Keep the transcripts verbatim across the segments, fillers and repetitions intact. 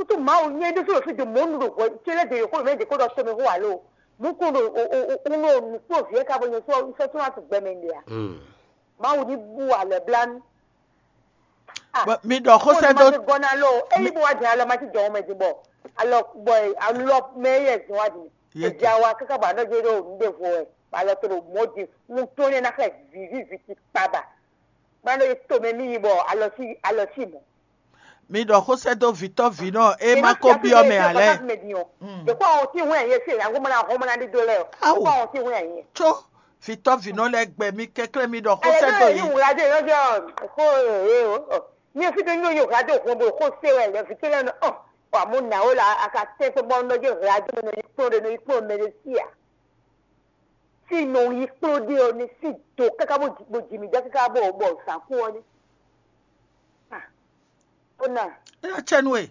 Kutu Mawu nyɛ ɖésú ɖo fí do mɔ̌ nu ɖo hwɛ ce lɛ́ de yǒxo mɛ ɖě kó ɖɔ tɔmɛ xó alo mú kún ɖo un ɖo nǔkplɔ́nvǐ ká bɔ nyɛ sɔ́ sɔ́ tún ná tun gbɛ mɛ ɖe a? Mawu ní bú alɛ blánú. Mi ɖɔ xó sɛ́ dó. Gɔ́ ná lɔ ényí bó wá jɛ alɔ ma ti jɔ mɛ din bɔ alɔ bɔ alɔ mɛ yɛ zɔn wá din. Èdè awa káká bɔ anɔ jɛ ɖo nǔ ɖe vo wɛ alɔ to ɖo mɔ̌ din. Wun tó nɛ ná xlɛ vǐví vǐ ti kpaba. Bá nɔ yi tomɛ mì yi bɔ alɔ sí alɔ sí mɔ̌. Mi ɖɔ xó sɛ́ dó vǐtɔ́ vǐnɔ e ma ko byɔ́ mɛ ǎ lɛ́ɛ. Ɖeko àwọn tí wọ́n yẹn ṣe ìyàwó mọ́ra àwọn ọmọ náà dídó lẹ́yọ̀. Ɖeko àwọn tí wọ́n yẹn. Có vǐtɔ́ vǐnɔ lɛ́ɛ gbɛ mi kɛ́klɛ́ mi ɖɔ xó sɛ́ dó yě. Ìwúrádé lọ́jọ́ kó èé o. Mi ò fi tó ní oyún ìwúrádé òkun bò kó sé wẹ̀ lẹ́fi tó lẹ́nu ọ̀. Wà mú nà ó la aka tẹ́ pé bọ́ nọ́jọ́ ìwúrádé mi nọ yí kúrò nínú yí kúrò mẹ́lẹ́síà. Sí nɔ yí kúrò dé ọ ní sí dò káká bó jì mí jẹ́ káká bó bọ̀ sàkú ọ ní. Ó nà. Ena tsɛnu e.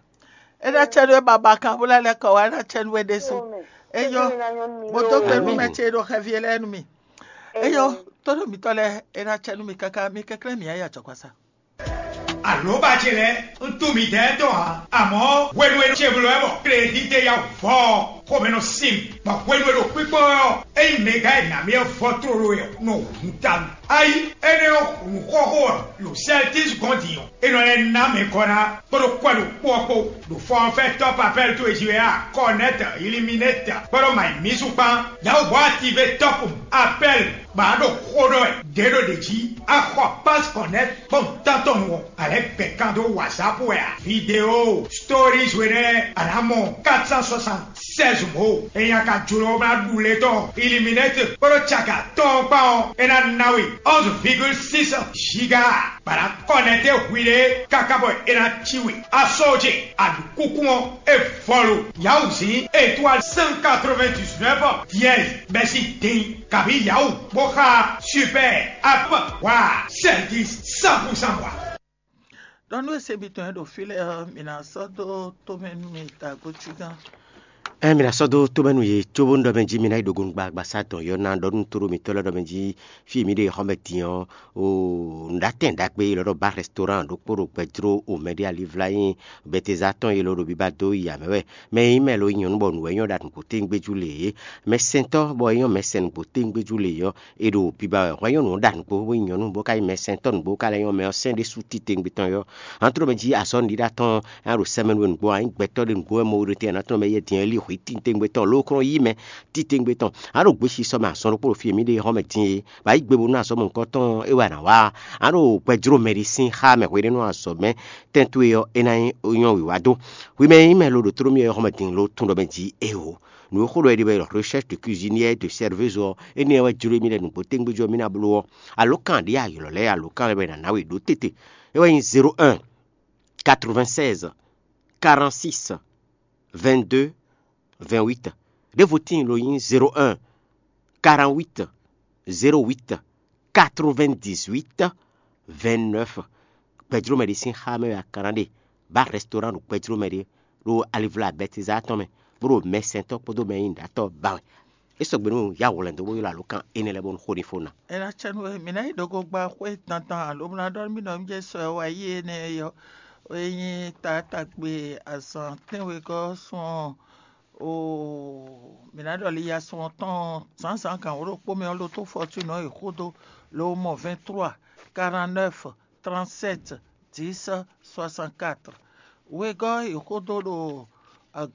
Ena tsɛnu e baba kan bó lɛ́ lɛ́ kɔ wá ena tsɛnu e ɖésú. Eyɔ. Mo dó gbe nú mɛ ce ɖo xɛvi lɛ́ɛ nú mi. Eyɔ. Tóɖó mitɔ lɛ́ɛ ena tsɛnu mi káká mi kɛklɛ́ mi ayé àjɔkpasa. Alǒba ce lɛ́ɛ, un tunwun midɛɛ tɔn ǎ, amɔ̌ hwenu e ce bló wɛ bɔ klédíte yá vɔ ɔ́, xomɛ nɔ sin mì, bɔ hwenu e ɖo kpíkpɔ́ wɛ ɔ́, ényí mɛgán e nǎ mì wɛ vɔ tlóló wɛ ɔ́, nɔ hun ta mì. Ayi, énɛ́ ɔ́, hun xɔxó ɔ́, ɖo Sɛltísi gɔ́n din ɔ́, é nɔ lɛ́ ná mɛ gɔ́ ná kpódó kwɛ́ ɖokpó ɔ́ kpó, ɖo fɔ́nfɛ́ tɔ́ papɛ́l towe jí wɛ a, Kɔnɛ́tɔ, Iliminɛ́tɔ, kpódó Mayimísu kpán, Yawu bɔ a tivé tɔ́pun apɛ́l bɔ a ɖo xó ɖɔ wɛ ɖě ɖo ɖě jí. A xɔ pásí kɔnɛ́ kpɔ́n tántɔn nu ɔ́, a lɛ́ gbɛ kan dó WhatsApp wɛ a? Vidéo, stories we nɛ́ a nǎ mɔ quatre cent soixante-seize mɔ̌. Ényí a ka jló ná ɖu lé tɔn Illuminate kpódó caka tɔn kpán ɔ́, é ná ná we onze virgule six giga. Bɔ a nǎ kɔnɛ́te hwiɖée káká bɔ é ná cí we. A sɔ́ ce, a ɖu kúkú ɔ́, é vɔ lo. Yawuzin étoile cent quatre-vingt-dix-neuf dièse bɛ́ sín din kabǐ Yawu bó xá super app wa sɛ́dí cent pour cent wa. Ɖɔ nú e se mitɔn e ɖo fí lɛ́ɛ ɔ́, mi ná sɔ́ dó tomɛ nú mi dagbo cí gán. Ɛ mi ná sɔ́ dó tomɛ nú yě cóbónú ɖɔ mɛ jí mi ná yi ɖo gonu gbagba sá dɔn yɔ ná ɖɔ nú tóɖó mitɔ́ lɛ́ɛ ɖɔ mɛ jí fí e mǐ ɖe xɔmɛ din ɔ́, o nǔɖatɛn ɖagbe e lɔ ɖɔ ba restaurant ɖokpó ɖo gbɛjló o mɛɖé alivla nyi Bɛteza tɔn e lɔ ɖo biba dó yi amɛ wɛ. Mɛ e nyí mɛ lo nyí nyɔ̌nu bɔ nǔ wɛ nyɔ́ ɖa nǔgbó téŋgbéjú lě é. Mɛsɛntɔ́ bɔ é nyɔ́ mɛsɛn nǔgbó téŋgbéjú lě ɔ́, è ɖo biba wɛ. Hwɛ nyɔ́nu ɔ́ ɖa nǔgbó bó nyí nyɔ̌nu bó ka nyí mɛsɛntɔ́ nǔgbó bó ka lɛ́ nyɔ́ mɛ ɔ́ sɛn ɖésú titewungbe tɔn yɔ́. Antrɔ mɛ jí azɔ̌ nǔɖiɖa tɔn a ɖo sɛmɛ nú we nǔgbó a nyí gbɛtɔ́ ɖé nǔgbó wɛ mɔ ɖé tɛn anatɔ́ mɛ yɛ din ɔ́ lí hwǐ titewungbe tɔn lókɔ́n yí mɛ titewungbe tɔn. A ɖo gběsisɔ mɛ azɔn ɖokpó ɖo fí e mǐ ɖe hɔn mɛ din é, bɔ a yí gbe bónú azɔ̌ mɔ̌hunkɔtɔn é wɛ a nǎ wa. A ɖo gbɛ jló mɛ ɖi sín xá mɛ hweɖénu azɔ̌ mɛ tɛ́ntu e ɔ́, é ná nyí nyɔ́ wǐwá dó. Hwi mɛ e nyí mɛ lo ɖo tló mì ɔ́, xɔmɛ din lo tún ɖɔ mɛ jí éeǒ. Nǔ e xó ɖɔ è ɖe wɛ ɖɔ recherche de cuisinière de serveuse ɔ́, énɛ́ wɛ jló mì ɖɔ nǔgbó tégbéjɔ mì ná bló ɔ́, alǒkan ɖě a ylɔ̌ lɛ́ɛ alǒkan lɛ́ɛ wɛ è nǎ ná we ɖó tete. É wɛ nyí zéro un, quatre-vingt-seize, quarante-six, vingt-deux, vingt-huit. Ɖěvo tíin lo nyí zéro un, quarante-huit, zéro huit, quatre-vingt-dix-huit, vingt-neuf. Gbɛjló mɛ ɖé sín xá mɛ wɛ a ka ná ɖe. Ba restaurant ɖo gbɛjló mɛ ɖé ɖo alivla Bɛtizá tɔn mɛ, bó ɖo mɛsɛntɔ́ kpódó mɛ e nyí nǔɖatɔ́ ba wɛ. É sɔgbe nú ya hwlɛ̌n dó bó ylɔ́ alǒkan énɛ́ lɛ́ɛ bónú xó ní fó ná. É ná cɛ nú we, mǐ ná yi ɖo gogba xwé dandan alo mǐ ná ɖɔ nú mì nɔ mì jɛ sɔ e wá yi énɛ́ é ɔ́, é nyí taátagbe azǎn tɛ́nwegɔ́ sɔn oo, mǐ ná ɖɔ liya sɔn tɔn zǎnzǎn gǎn wǒ ɖokpó mɛ ɔ́, lotó fɔtúnɔ e xódó ló mɔ vingt-trois, quarante-neuf, trente-sept, dix, soixante-quatre. Wegɔ́ e xódó ɖo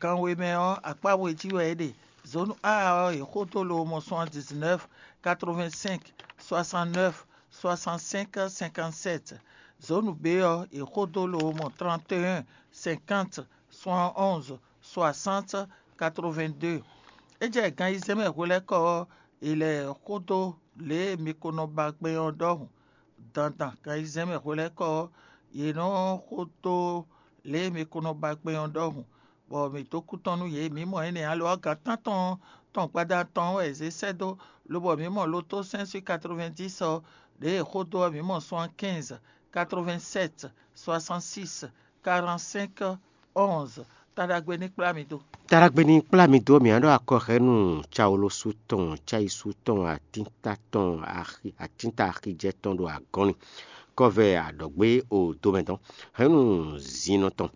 gan we mɛ ɔ́, akpá we jí wɛ é ɖe. Zone A ɔ́, e xódó lo mɔ soixante-dix-neuf, quatre-vingt-cinq, soixante-neuf, soixante-cinq, cinquante-sept. Zone B ɔ́, e xódó lo mɔ trente et un, cinquante, soixante-onze, soixante, quatre-vingt-deux. É jɛ gan ayizɛ́n mɛ hwelɛ́kɔ ɔ́, è lɛ xódó lě e mi ko nɔ ba gbɛn ɔ́ ɖɔhun. Dandan gan ayizɛ́n mɛ hwelɛ́kɔ ɔ́, yě nɔ xódó lě e mi ko nɔ ba gbɛn ɔ́ ɖɔhun, bɔ mǐ dó kú tɔn nú yě. Mǐ mɔ énɛ́ alo ɔ́, gan tántɔn tɔn gbada tɔn wɛ è zě sɛ́ dó, lobɔ mǐ mɔ lotó sɛ́n sín quatre-vingt-dix ɔ́, lě e è xódó ɔ́, mǐ mɔ soixante-quinze, quatre-vingt-sept, soixante-six, quarante-cinq, onze. Taɖagbe ní kplá mi dó. Taɖagbe ní kplá mi dó, mǐ á ɖɔ akɔhɛ́nu Cawolosu tɔn, Cayisu tɔn, Atínta tɔn, Atínta Axijɛ tɔn ɖo agɔ́nni. Kɔvɛ aɖɔ̌gbé o domɛ tɔn, hɛ̌nnu zinnɔ tɔn.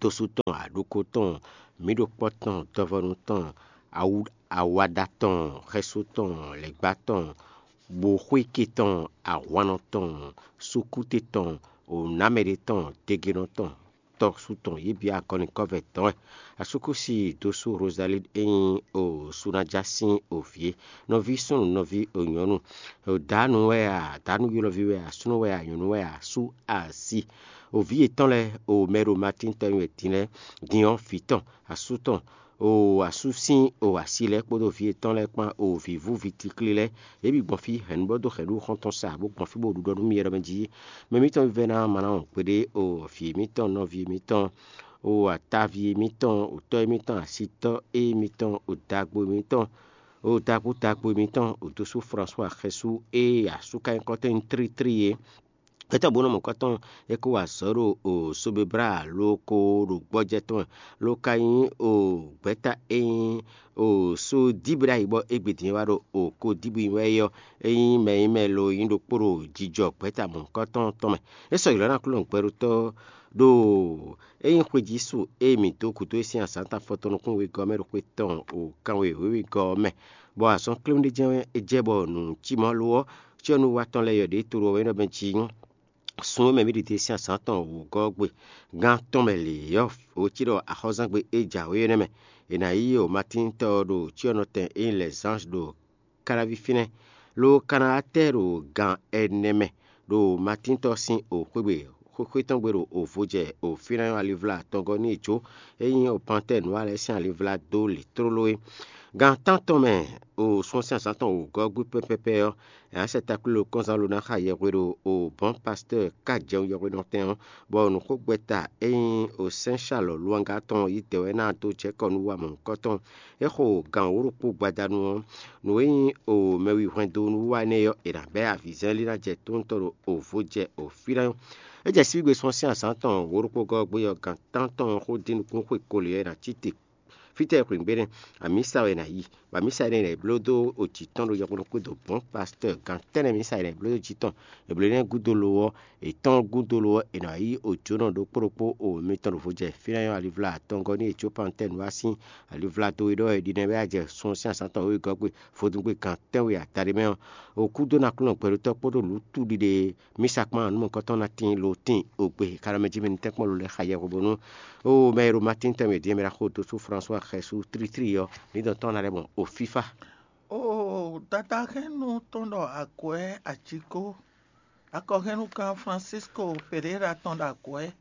Tosu tɔn, aɖókó tɔn, mǐɖokpɔ́ tɔn, dɔvɔnu tɔn, awu- awada tɔn, xɛsu tɔn, lɛ̌gbá tɔn, boxwíki tɔn, ahwannɔ tɔn, sukúte tɔn, onǎmɛɖe tɔn, degenɔ tɔn, tɔsu tɔn, yě bǐ agɔnikɔ́vɛ tɔn wɛ. Asúkúsi dósú Rosalín e nyí o Sunájá sín o vǐ é, nɔví súnnu, nɔví o nyɔ̌nu, o dǎnu wɛ a, dǎnu ylɔ́ví wɛ a, súnnu wɛ a, nyɔ̌nu wɛ a, sú asi. O vǐ yětɔn lɛ́ɛ, o mɛ e ɖo Matín tɔn nyi wɛ din lɛ́ɛ, din ɔ́, vǐ tɔn, asú tɔn, o asú sín o asi lɛ́ɛ kpódó vǐ yětɔn lɛ́ɛ kpán, o vǐvú vǐ tíklí lɛ́ɛ, yě bǐ gbɔn fí hɛ̌nnu bɔ dó hɛ̌nnu xɔ́ntɔn sa bó gbɔn fí bó ɖu ɖɔ nú mì ɖɔ mɛ jí: Mɛ mǐtɔn vívɛ́ná Mawu kpéɖé, o vǐ mǐtɔn, nɔví mǐtɔn, o ataví mǐtɔn, o tɔ́ mǐtɔn, asitɔ́ e mǐtɔn, o dagbo mǐtɔn, o dagbo dagbo mǐtɔn, o dósú Flɔ́sua xɛsú e asú ka nyí kɔ́tɔ́ nyí tlítlí é. Gbɛtɔ́ bó nɔ mɔ̌kɔtɔn é kó wa azɔ̌ ɖo o Sobebla lo ko ɖo gbɔjɛ́ tɔn mɛ, lo ka nyí o gbɛ̌ta e nyí o Sodíbla yi bɔ égbé din wá ɖo o Kodíbu wɛ é ɔ́, é nyí mɛ e nyí mɛ lo nyí ɖokpó ɖo jijɔ gbɛ̌ta mɔ̌kɔtɔn tɔn mɛ. É sɔgbe lɔ̌ ná Aklúnɔ gbɛɖótɔ́ ɖo é nyí xwejísu e mǐ dó gǔdo é sín azǎn tɔn afɔtɔn nukún wegɔ́ ɔ́ mɛ ɖo xwe tɔn o kanwe wěwegɔ́ ɔ́ mɛ, bɔ azɔn kléwún ɖé jɛ́n é jɛ bɔ nǔ cí mɔ̌ lo ɔ́, cyɔ́núwa tɔn lɛ́ɛ yɔ ɖě tlóló ɔ́ é nɔ mɛ jí nyɔ́. Sun e mɛ mǐ ɖi din sín azǎn tɔn wǔgɔ́ ɔ́ gbe, gan tɔn mɛ lě ɔ́, wǒ cí ɖɔ axɔ́zán gbe e jǎwe ɔ́ nɛ́ mɛ. È nǎ yí o Matín tɔn ɔ́ ɖo cyɔ́nɔtɛn e nyí Lɛ̌zánj ɖo Káláví fínɛ́, lo ka ná wá tɛ ɖo gan ɛnɛ mɛ, ɖo Matín tɔn sín o xwé gbe xwé tɔn gbe ɖo o vo jɛ o fínɛ́ ɔ́ alivla atɔngɔ́ ní e jó, é nyí o Pantɛ́ɛ Nǔwa lɛ́ɛ sín alivla dó lě tlóló é. Gan tántɔn mɛ o sun sín azǎn tɔn wǒgɔ́ gbe pɛ́pɛ́pɛ́ ɔ́, è nǎ sɛ taklílo kɔ́nzán lo ná xa yɛhwe ɖo o bɔ̌n pastɔ́ɔ ka jɛun yɛhwenɔtɛn ɔ́, bɔ nǔxogbɛ́ta e nyí o sɛ́n Salɔ̌ Luwanga tɔn ɔ́ yi dɛ̌ wɛ ná dó jɛ kɔ nú wa mɔ̌hunkɔtɔn. É xo gan wǒ ɖokpó gbadanu ɔ́, nǔ e nyí o mɛwi hwɛndo nú wa énɛ́ ɔ́, è nǎ bɛ́ avǐzɛ́n lí ná jɛ tóntɔ́ ɖo o vo jɛ o fí ná nyɔ́. É jɛ síbígbe sɔ́ sín azǎn tɔn wǒ ɖokpó gɔ́ gbé ɔ́, gan tántɔn ɔ́ xó dín nukún xwe koli ɔ́, è nǎ cí te. Fítɛ́ e xwǐngbe nɛ́, amǐsa wɛ è nǎ yi, bɔ amǐsa énɛ́ è nǎ yi bló dó ojǐ tɔn ɖo yɔkpɔ́nɔ kpódò gbɔ̌n pastɔ́ɔ gan tɛ́nnɛ amǐsa è nǎ yi bló dó jǐ tɔn. È blǒ énɛ́ gúdo lo ɔ́, è tɔ́n gúdo lo ɔ́, è nǎ yí ojǒnɔ ɖokpó ɖokpó o mitɔn ɖo vo jɛ fínɛ́ nyɔ́ alivla atɔngɔ́ ní Ecópantɛ́nu wá sín alivla dó e ɖɔ è ɖi nɛ́ wɛ a jɛ sun ɔ́ sín azǎn tɔn wegɔ́ gbe vodúngbe gan tɛ́nwe adaɖé mɛ ɔ́, o kúdó nɔ Aklúnɔ gbɛɖótɔ́ kpódó nǔ túɖiɖe mísa kpán nǔmɔ̌kɔ́tɔn ná tín lo tín ogbe xalɔmɛ jí mɛ ní tɛ́nkpɔ́n lo lɛ́ɛ xa yɛhweɖónú. O mɛ e ɖo Matín tɛnmɛ din e mɛ ɖo axo dó sú Flɔ́sua xɛsu tlítlí ɔ́, ní dɔn tɔn ná lɛ́ mɔ o fífá. O dada hɛn nú tɔn ɖɔ akwɛ́ acikó. Akɔhɛnnugán Francisco Pereira tɔn ɖo akwɛ́.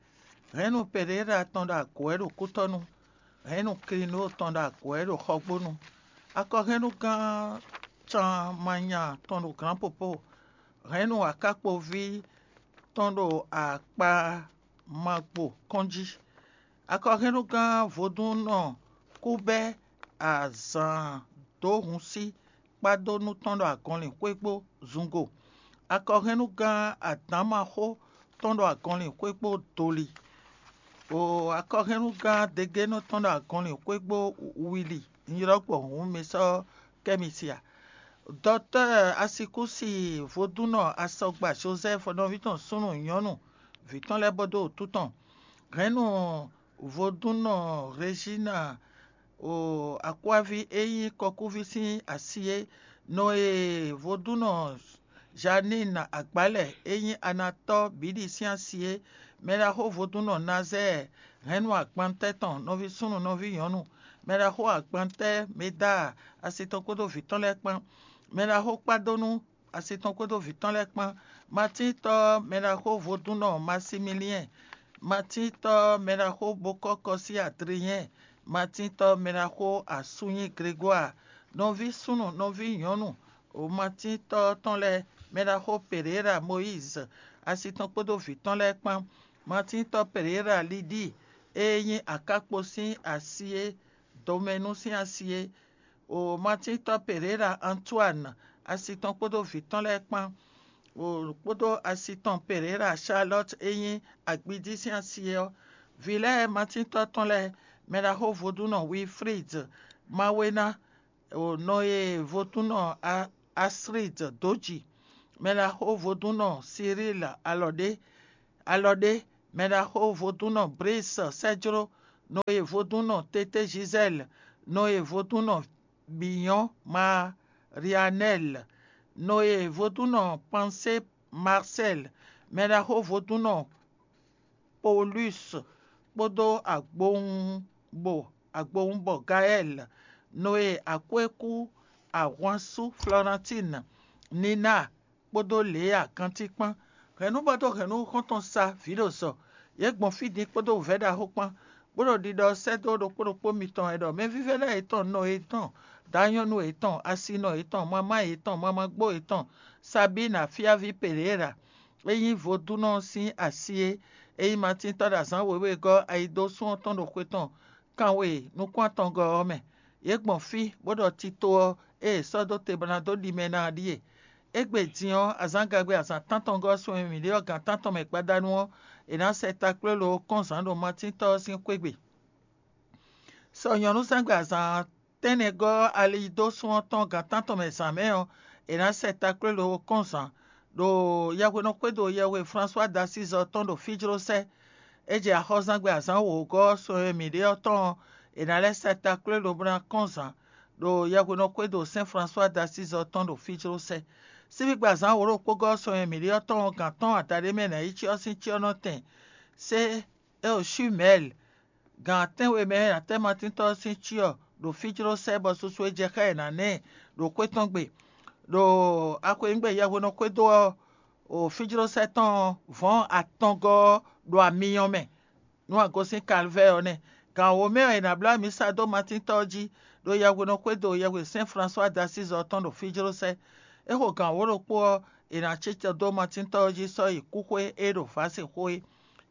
Hɛn nú Pereira tɔn ɖo akwɛ́ ɖo kútɔ́nu. Hɛn nú Klino tɔn ɖo akwɛ́ ɖo xɔgbónu. Akɔhɛnnugán Can Manya tɔn ɖo Glǎnpopó. Hɛn nú akákpoví tɔn ɖo akpa magbo kɔn jí. Akɔhɛnnugán vodúnnɔ kú bɛ́ azǎn dó hun sí kpádó nú tɔn ɖo agɔnlin xwé kpó zungo. Akɔhɛnnugán adǎnmaxó tɔn ɖo agɔnlin xwé kpó doli. O akɔhɛnnugán degénɔ tɔn ɖo agɔnlin xwé kpó wili. Nylɔ́ gbɔn hǔn mi sɔ́ kɛ́ mi sia. Dɔtɛ́ Asikúsi vodúnnɔ asɔgba Jozɛ́fu nɔví tɔn súnnu nyɔ̌nu vǐ tɔn lɛ́ɛ bɔ dó wǔtu tɔn. Hɛ̌nnu vodúnnɔ Rezína o akwáví e nyí kɔkúví sín asi é, nɔ e vodúnnɔ Janín Agbálɛ e nyí Anatɔ́ bǐ ɖi sín asi é, mɛɖaxó vodúnnɔ Nazɛ́ɛ hɛ̌nnu agbantɛ́ tɔn nɔví súnnu nɔví nyɔ̌nu, mɛɖaxó agbantɛ́ Medaa asi tɔn kpódó vǐ tɔn lɛ́ɛ kpán, mɛɖaxó kpádónú asi tɔn kpódó vǐ tɔn lɛ́ɛ kpán, Matíntɔ́ mɛɖaxó vodúnnɔ Masimiliɛ́n, Matíntɔ́ mɛɖaxó bokɔ́kɔ sín Adlinyɛ́ɛ, Matíntɔ́ mɛɖaxó asúnyí Glegwáa, nɔví súnnu nɔví nyɔ̌nu Matíntɔ́ tɔn lɛ́ɛ, mɛɖaxó Pereira Mɔyízi asi tɔn kpódó vǐ tɔn lɛ́ɛ kpán, Matíntɔ́ Pereira Lidíi e nyí akákpo sín asi é, dɔmɛnú sín asi é, o Matíntɔ́ Pereira Antuáni asi tɔn kpódó vǐ tɔn lɛ́ɛ kpán, o kpódó asi tɔn Pereira Charlɔ́t e nyí agbídí sín asi é ɔ́, vǐ lɛ́ɛ Matíntɔ́ tɔn lɛ́ɛ, mɛɖaxó vodúnnɔ Wilflíd Mawéná, o nɔ e vodúnnɔ Aslíd dó ji, mɛɖaxó vodúnnɔ Silíl Alɔɖé, Alɔɖé, mɛɖaxó vodúnnɔ Bris Sɛjló, nɔ e vodúnnɔ Tété Gisèle, nɔ e vodúnnɔ Biyɔn Marianɛl, nɔ e vodúnnɔ Pansé Marcel, mɛɖaxó vodúnnɔ Paulus kpódó agbowunbo agbowunbɔ Gaɛl, nɔ e akwékú ahwansú Flɔrantín, Nina kpódó Lea gantíkpán. Hɛ̌nnú bɔ dó hɛ̌nnú xɔ́ntɔn sa vǐ ɖo zɔ. Yě gbɔn fí din kpódó wǔvɛ́ ɖaxó kpán, bó ɖo ɖiɖɔ sɛ́ dó ɖokpó ɖokpó mitɔn wɛ ɖɔ mɛvívɛ́ná yětɔn, nɔ yětɔn, dǎnyɔ́nú yětɔn, asinɔ yětɔn, mamá yětɔn, mamagbo yětɔn, Sabín afíaví Pereira, é nyí vodúnnɔ sín asi é, é nyí Matín tɔ́ ɖo azǎn wěwé gɔ́ ayidósún ɔ́ tɔn ɖo xwe tɔn kanwe nukún atɔngɔ́ ɔ́ mɛ. Yě gbɔn fí, bó ɖɔ tito ɔ́ e è sɔ́ dó te bó ná dó ɖi mɛ ná ɔ́ ɖíe. Égbé din ɔ́, azǎngagbe azǎn tántɔngɔ́ ɔ́ sun e mǐ ɖe ɔ́ gǎn tántɔn mɛ gbadanu ɔ́, è nǎ sɛ taklwélo ɔ́ kɔn zǎn ɖo Matín tɔ́ ɔ́ sín xwé gbe. Sɔ nyɔ̌núzɛ́ngbe azǎn tɛ́nnɛgɔ́ ali dó sún ɔ́ tɔn gǎn tántɔn mɛ zǎn mɛ ɔ́, è nǎ sɛ taklwélo ɔ́ kɔn zǎn ɖo yɛhwenɔ́ xwédo yɛhwe Flasuwa d'Asízi ɔ́ tɔn ɖo fíjlósɛ́. É jɛ axɔ́zangbe azǎn wǒgɔ́ sɔn e mǐ ɖe ɔ́ tɔn ɔ́, è nǎ lɛ́ sɛ taklwélo bó ná kɔn zǎn ɖo yɛhwenɔ́ xwédo Sɛ́n Flasuwa d'Asízi ɔ́ tɔn ɖo fíjlósɛ́. Síbígbe azǎn wǒ ɖokpó gɔ́ sɔn e mǐ ɖe ɔ́ tɔn ɔ́, gǎn tɔn adaɖé mɛ ná yi cyɔ sín cyɔ́nɔtɛn sé é ɖo Shumɛ́l, gan atɛ́nwe mɛ ɔ́, è nǎ tɛ́ Matíntɔ́ ɔ́ sín cyɔ ɖo fíjlósɛ́ bɔ susu e jɛ xá ɛ ná ná ɛ ɖo xwé tɔn gbe. Ɖo axwenyígbe yɛhwenɔ xwédo ɔ́, o fíjlósɛ́ tɔn ɔ́, vɔ̌n atɔngɔ́ ɔ́ ɖo amyɔ mɛ, nú a gosín Kalvɛ́ɛ ɔ́ nɛ́. Gan wǒ mɛ ɔ́, è nǎ bló amǐsa dó Matíntɔ́ ɔ́ jí, ɖo yɛhwenɔ xwédo yɛhwe Sɛ́n Flasuwa d'Asízi ɔ́ tɔn ɖo fíjlósɛ́. É xo gan wǒ ɖokpó ɔ́, è nǎ cí tɔ dó Matíntɔ́ ɔ́ jí sɔ́ yi kúxwé e ɖo vǎsexó é.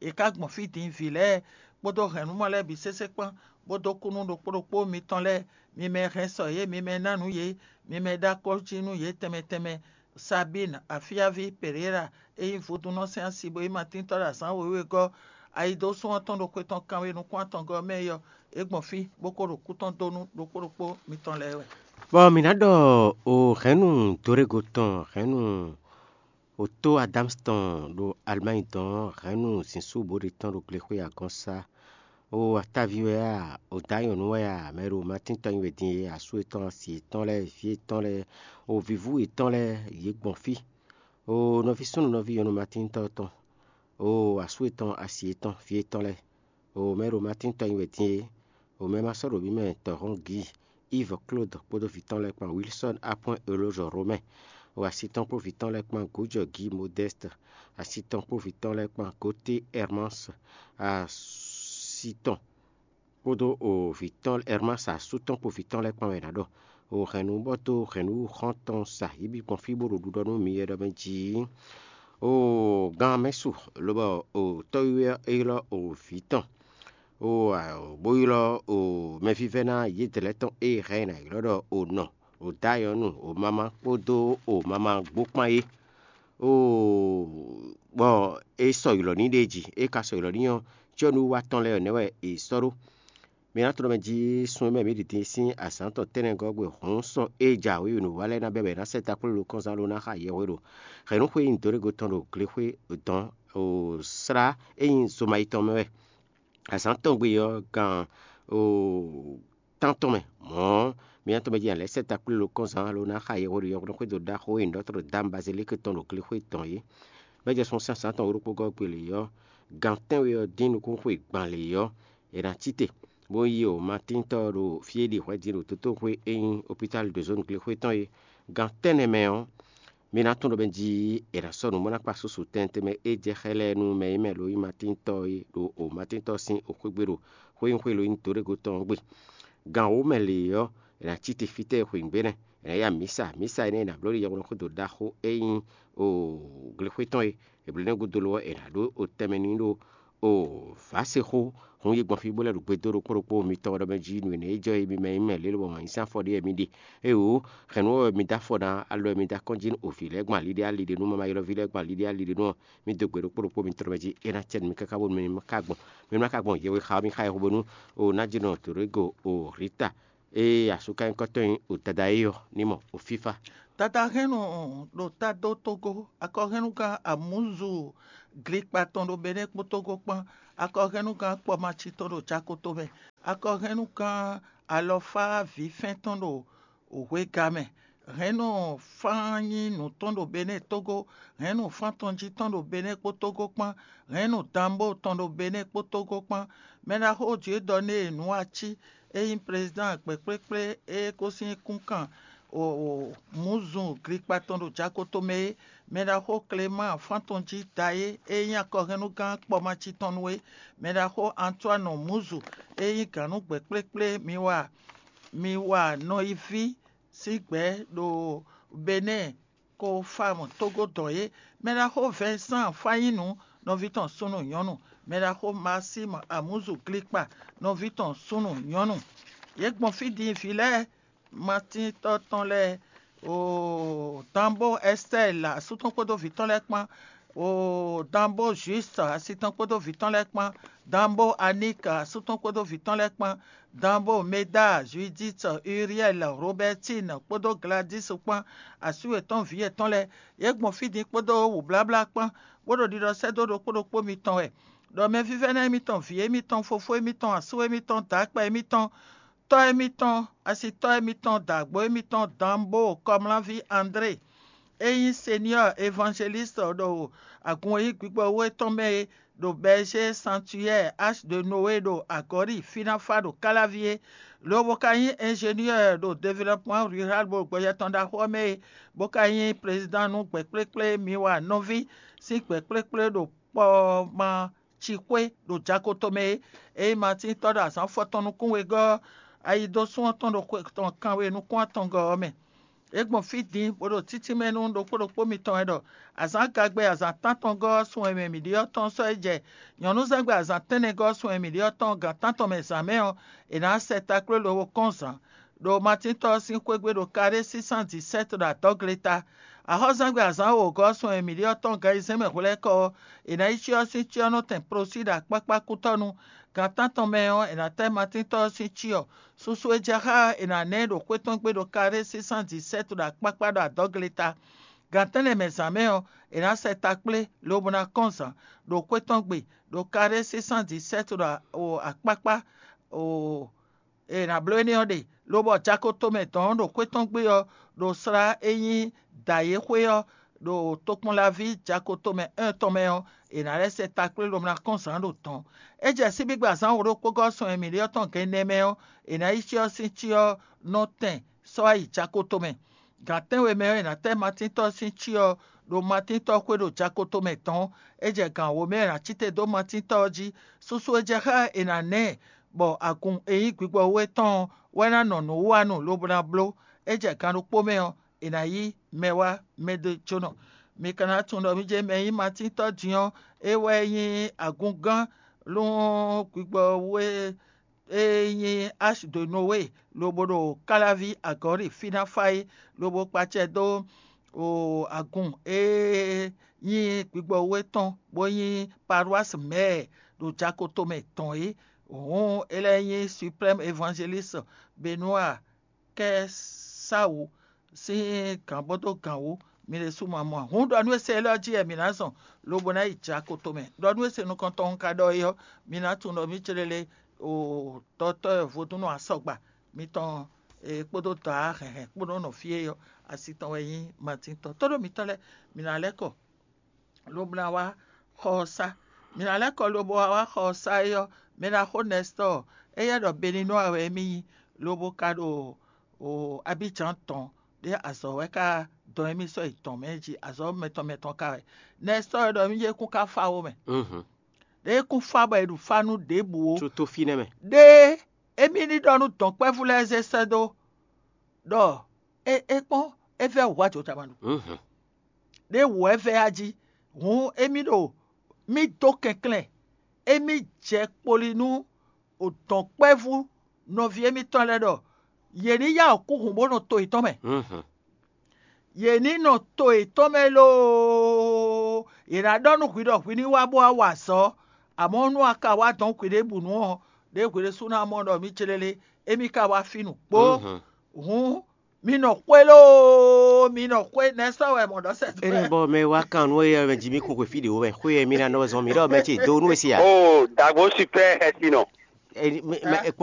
È ka gbɔn fí din vǐ lɛ́ɛ kpódó hɛ̌nnumɔ lɛ́ɛ bǐ sésé kpán, bó dó kú nú ɖokpó ɖokpó mitɔn lɛ́ɛ, mi mɛ hɛn sɔ yě, mi mɛ ná nǔ yě, mi mɛ ɖó akɔ́ jí nú yě tɛnmɛ tɛnmɛ. Sabín, afíaví Pereira, e nyí vodúnnɔ sín asi bó nyí Matíntɔ́ ɖo azǎn wěwé gɔ́, ayidósún ɔ́ tɔn ɖo xwe tɔn kanwe nukún atɔngɔ́ mɛ é ɔ́, é gbɔn fí, bó ko ɖo kú tɔn dó nú ɖokpó ɖokpó mitɔn lɛ́ɛ wɛ. Bɔ mǐ ná ɖɔ o hɛ̌nnu Dorego tɔn, hɛ̌nnu otó Adams tɔn ɖo Alimányi dɔn, hɛ̌nnu zǐnsúbǒɖe tɔn ɖo glexwé agɔ́nsá. O ataví wɛ a, o dǎ nyɔ̌nu wɛ a, mɛ ɖo Matín tɔn nyi wɛ din e, asú yětɔn, asi yětɔn lɛ́ɛ, vǐ yětɔn lɛ́ɛ, o vǐvú yětɔn lɛ́ɛ, yě gbɔn fí. O nɔví súnnu nɔví nyɔ̌nu Matín tɔn tɔn, o asú yětɔn, asi yětɔn, vǐ yětɔn lɛ́ɛ, o mɛ ɖo Matín tɔn nyi wɛ din e, o mɛ ma sɔ́ ɖo mǐ mɛ tɔhɔn Gǐ, Yves Claude kpódó vǐ tɔn lɛ́ɛ kpán, Wilson Apɔ́n Elozɔ Romɛ, o asi tɔn kpó vǐ tɔn lɛ́ɛ kpán, Gǒjɔ Gǐ Modɛ́st, asi tɔn kpó vǐ tɔn lɛ́ɛ kpán, Goté Hermans, asi tɔn kpódó o vǐ tɔn Hermans asú tɔn kpó vǐ tɔn lɛ́ɛ kpán wɛ è nǎ ɖɔ. O hɛ̌nnu bɔ dó hɛ̌nnu xɔ́ntɔn sa yě bǐ gbɔn fí bó ɖo ɖiɖɔ nú mi wɛ ɖɔ mɛ jí. O gan mɛ su, lobɔ o tɔ́ wiwa ɔ́ é ylɔ́ o vǐ tɔn, o bó ylɔ́ o mɛvívɛ́ná yědɛɛ lɛ́ɛ tɔn e hɛn è nǎ ylɔ́ ɖɔ o nɔ, o dǎ nyɔ̌nu, o mama kpódó o mama gbó kpán é. O bɔ é sɔ ylɔ̌ ní ɖ'é jí, é ka sɔ ylɔ̌ ní ɔ́, cyɔ́nú wa tɔn lɛ́ɛ ɔ́ nɛ́ wɛ è sɔ́ ɖó. Mi ná tunwun mɛ jí sun e mɛ mǐ ɖi din sín azǎn tɔn tɛ́nnɛgɔ́ gbe hǔn sɔ́ é jǎwe nǔ wa lɛ́ɛ ná bɛ́ bɔ è nǎ sɛ́ taklólo kɔnzán lo ná xa yɛhweɖo hɛ̌nnúxwé e nyí Dorego tɔn ɖo glexwé dɔn o slá e nyí Zomayi tɔn mɛ wɛ. Azǎn tɔn gbe ɔ́, gan o tántɔn mɛ mɔ̌, mi ná tunwun mɛ jí a lɛ́ sɛ́ taklólo kɔnzán lo ná xa yɛhweɖo yɛhweɖo xwédo ɖaxó e nyí ɖɔtɔ́ Dam Bazilíki tɔn ɖo glexwé dɔn é. Bɔ é jɛ sun sín azǎn tɔn wǒ ɖokpó gɔ́ gbe lě ɔ́, gan tɛ́nwe ɔ́ dín nukúnxwe gban lě ɔ́, è nǎ cí te, bó yi o Matín tɔ́ ɔ́ ɖo fí e ɖi hwɛ din ɖo dotóxwé e nyí opítáli ɖo zǒnu glexwé tɔn é. Gan tɛ́nnɛ mɛ ɔ́, mi ná tunwun ɖɔ mɛ jí è nǎ sɔ́ nǔ bó ná kpa susu tɛnmɛ tɛnmɛ e jɛ xá ɛ lɛ́ɛ nú mɛ e mɛ lo nyí Matín tɔ́ é ɖo o Matín tɔ́ sín oxwé gbe ɖo xwé nyí xwé lo nyí Dorego tɔn ɔ́ gbe. Gan wǒ mɛ lě ɔ́, è nǎ cí te fítɛ́ e xweyǐgbe nɛ́, è nǎ ya mǐsa, mǐsa énɛ́ è nǎ bló ɖi yɛhweɖɔ xwédo ɖaxó e nyí o glexwé tɔn é. È blǒ nɛ́ gúdo lo ɔ́, è nǎ ɖó o tɛnmɛ n'i ɖó o vǎsexó hun yi gbɔn fí bó lɛ́ ɖo gbe dó ɖokpó ɖokpó mitɔn ɖɔ mɛ jí nǔ énɛ́ e jɔ é mi mɛ nyí mɛ lě lobɔ wǎn yí sín afɔ ɖé wɛ mi ɖe. Éeǒ, hɛ̌nnu ɔ́ wɛ mi dó afɔ ná alɔ wɛ mi dó akɔ́n jí nú o vǐ lɛ́ɛ gbɔn ali ɖé ali ɖé nú mama ylɔ́ví lɛ́ɛ gbɔn ali ɖé ali ɖé nú ɔ́, mi dó gbe ɖokpó ɖokpó mitɔn ɖɔ mɛ jí é ná cɛ nú mi káká bónú mi ká gbɔn. Mi ma ka gbɔn yɛhwe xa ɔ́, mi xa yɛhwe bónú o ná jí nɔ Dorego o Rita e asúkanyíkɔ́tɔn nyí o dada é ɔ́ ní mɔ o fífá. Dada hɛn nɔ ɖo ta dó Togo, akɔhɛnnugán Amuzu Glikpa tɔn ɖo Benɛ́ kpó Tógó kpán, akɔhɛnnugán Kpɔmaci tɔn ɖo Jakoto mɛ, akɔhɛnnugán Alɔfá vǐfɛ́n tɔn ɖo hwega mɛ, hɛ̌nnu fán nyí nǔ tɔn ɖo Benɛ́ Tógó, hɛ̌nnu fán tɔn jí tɔn ɖo Benɛ́ kpó Tógó kpán, hɛ̌nnu danbó tɔn ɖo Benɛ́ kpó Tógó kpán. Mɛ ɖaxó Jwiɖɔ née nǔ ací e nyí prezidán gbɛ̌kplékplé e ko sín kúnkan Mǔzu Glikpa tɔn ɖo Jakoto mɛ é, mɛ ɖaxó Klemáan fán tɔn jí da é, e nyí akɔhɛnnugán Kpɔmaci tɔn nu é, mɛ ɖaxó Antoine Mǔzu e nyí gǎnnúgbɛ̌ kplékplé mi wa mi wa nɔyiví sín gbɛ̌ ɖo Benɛ́ɛ ko fá mɔ tógó dɔn é, mɛ ɖaxó Vɛnsan Fanyínu nɔví tɔn súnnu nyɔ̌nu, mɛ ɖaxó Masímu Amúzu Glikpa nɔví tɔn súnnu nyɔ̌nu. Yě gbɔn fí din vǐ lɛ́ɛ, Matíntɔ́ tɔn lɛ́ɛ, oo, Danbó Ɛstɛ́ɛl asú tɔn kpódó vǐ tɔn lɛ́ɛ kpán, oo, Danbó Jwíst asi tɔn kpódó vǐ tɔn lɛ́ɛ kpán, Danbó Aník asú tɔn kpódó vǐ tɔn lɛ́ɛ kpán, Danbó Meda, Judíit, Uriɛl, Robɛtín kpódó Gladís kpán, asú yětɔn vǐ yětɔn lɛ́ɛ, yě gbɔn fí din kpódó wǔbláblá kpán, bó ɖo ɖiɖɔ sɛ́ dó ɖokpó ɖokpó mitɔn wɛ, ɖɔ mɛvívɛ́ná émítɔn, vǐ émítɔn, fofó émítɔn, asú émítɔn, dǎkpá émítɔn, tɔ́ émítɔn, asitɔ́ émítɔn, dǎgbó émítɔn, Danbó Kɔmlánví André, é nyí Senyɔ́ɔ Evangelíst ɖo agun e nyí gbigbɔwú é tɔn mɛ é, ɖo Bɛɛzé Santuyɛ́ɛ H de Nowé ɖo Agɔ̌ɖi Fínáfá ɖo Káláví é, lobo ka nyí ingénieur ɖo développement rural ɖo gbɔjɛ tɔn ɖaxó ɔ́ mɛ é, bó ka nyí prezidán nú gbɛ̌kplékplé Miwa nɔví sín gbɛ̌kplékplé ɖo Kpɔma ci xwé ɖo Jakoto mɛ é. Ényí Matín tɔ́ ɖo azǎn fɔtɔn nukún wegɔ́ ɔ́, ayi dó sún ɔ́ tɔn ɖo xwe tɔn kanwe nukún atɔngɔ́ ɔ́ mɛ. É gbɔn fí din bó ɖo títínmɛ nú ɖokpó ɖokpó mitɔn wɛ ɖɔ azǎn gagbɛ azǎn tántɔngɔ́ ɔ́ sun e mɛ mǐ ɖe ɔ́ tɔn sɔ́ é jɛ nyɔ̌nuzángbe azǎn tɛ́nnɛgɔ́ sun e mǐ ɖe ɔ́ tɔn gan tántɔn mɛ zǎn mɛ ɔ́, è nǎ sɛ ta kplé lobo kɔn zǎn. Ɖo Matín tɔ́ ɔ́ sín xwé gbe ɖo Karé six cent dix-sept ɖo adɔgleta. Axɔ́zangbe azǎn wǒgɔ́ sun e mǐ ɖe ɔ́ tɔn gan ayizɛ́n mɛ hwlɛ́kɔ ɔ́, è nǎ yi cyɔ ɔ́ sín cyɔ nɔ tɛn prosí ɖo akpákpá kútɔ́nu. Gan tántɔn mɛ ɔ́, è nǎ tɛ́ Matín tɔ́ ɔ́ sín cyɔ. Susu e jɛ xá ɔ́, è nǎ ná ɛ ɖo xwé tɔn gbe ɖo Karé six cent dix-sept ɖo akpákpá ɖo adɔgleta. Gan tɛ́nnɛ mɛ zǎn mɛ ɔ́, è nǎ sɛ ta kplé lobo ná kɔn zǎn ɖo xwé tɔn gbe ɖo Karé six cent dix-sept ɖo akpákpá. Ee, è nǎ bló énɛ́ ɔ́ ɖe, lobɔ Jakoto mɛ dɔ̌n ɖo xwé tɔn gbe ɔ́, ɖo slá e nyí Dǎyéxwé ɔ́, ɖo tokpɔnlaví Jakoto mɛ un tɔn mɛ ɔ́, è nǎ lɛ́ sɛ ta kplé lobo ná kɔn zǎn ɖo dɔ̌n. É jɛ síbígbe azǎn wǒ-ɖokpógɔ́ sɔn e mǐ ɖe ɔ́ tɔn gɛnnɛ mɛ ɔ́, è nǎ yi cyɔ ɔ́ sín cyɔ ɔ́ nɔ tɛn sɔ́ wá yi Jakoto mɛ. Gan tɛ́nwe mɛ ɔ́, è nǎ tɛ́ Matíntɔ́ sín cyɔ ɔ́ ɖo Matíntɔ́ xwé ɖo Jakoto mɛ dɔ̌n. É jɛ gan wǒ mɛ è nǎ cí te dó Matíntɔ́ ɔ́ jí. Susu e jɛ xá è nǎ ná ɛ bɔ agun e nyí gbigbɔwú é tɔn ɔ́ wɛ ná nɔ nǔ wa nu lobo ná bló. É jɛ gan ɖokpó mɛ ɔ́, è nǎ yí mɛ wá mɛ ɖé jónɔ. Mi ka ná tunwun ɖɔ mì jɛ mɛ e nyí Matíntɔ́ din ɔ́, é wɛ nyí agungán lún gbigbɔwú e e nyí Ashdonowé, lobo ɖo Káláví agɔ̌ɖi fí ná fá é, lobo kpacɛ dó agun e nyí gbigbɔwú é tɔn, bó nyí Palwási mɛ̌ɛ ɖo Jakoto mɛ tɔn é. Hǔn é lɛ́ nyí Suprɛ́mu Evanjelísi Benúa kɛ Sawu sín gǎn bó dó gǎn wú, mi ɖésú ma mɔ ǎ. Hǔn ɖɔ nú e se élɔ́ jí wɛ mǐ ná zɔn, lobo ná yi Jakoto mɛ. Ɖɔ nú e se nukɔntɔn un ka ɖɔ é ɔ́, mi ná tunwun ɖɔ mǐ céɖéɖé ɖɔ tɔ́ vodúnnɔ asɔgba mitɔn kpódó dɔ̌ hɛ̌nhɛ́n kpódó nɔ fí é ɔ́, asi tɔn wɛ nyí Matín tɔn. Tóɖó mitɔ́ lɛ́ɛ, mǐ ná lɛ́ kɔ lobo ná wá xɔ ɔ́ sá. Mǐ ná lɛ́ kɔ lobo wá xɔ ɔ́ sá é ɔ́, mɛ ná xó Nɛstɔ́ɔ, éyɛ́ ɖɔ Beninúa wɛ émí nyí, lobo ka ɖo Abíjan tɔn ɖé azɔ̌ wɛ ká dɔn émí sɔ́ yi tɔn mɛ jí, azɔ̌ mɛtɔn mɛtɔn ka wɛ. Nɛstɔ́ɔ ɖɔ émí jɛ kún ká fá wo mɛ. Ɖé kún fá bɔ è ɖu fá nú ɖěbǔ ó. Tso tó fínɛ́ mɛ. Ɖé émí ní ɖɔ nú dɔ̌nkpɛ́vú lɛ́ɛ zé sɛ́ dó ɖɔ é é kpɔ́n é vɛ́ wǔ ajotamaɖu. Ɖé wǔ wɛ vɛ́ a jí, hǔn émí ɖo mì dó kɛnklɛ́n, émí jɛ kpoli nú dɔ̌nkpɛ́vú nɔví émítɔn lɛ́ɛ ɖɔ yě ní yá wǔ kú hǔn bó nɔ to yětɔn mɛ. Yě ní nɔ to yětɔn mɛ loo, yě ná ɖɔ nú hwi ɖɔ hwi ní wá bó wá wa azɔ̌. Amɔ̌ nú a ka wá dɔn hwiɖěbǔnu ɔ́, ɖěe hwi ɖésú ná mɔ ɖɔ mǐ céɖéɖé, émí ka wá fí nǔgbó. Hǔn Mi nɔ xwé loo, mi nɔ xwé nɛ́ sɔ́ wɛ mɔ̌ ɖɔ sɛ. Ene bɔ mɛ wá kan nú eye mɛ jí mi kún xwe fí ɖě wó mɛ xwé e mi ná nɔ zɔn mi ɖɔ mɛ ce do nú e si a. O dagbo super hɛsi nɔ. Eni mɛ mɛ ekpɔn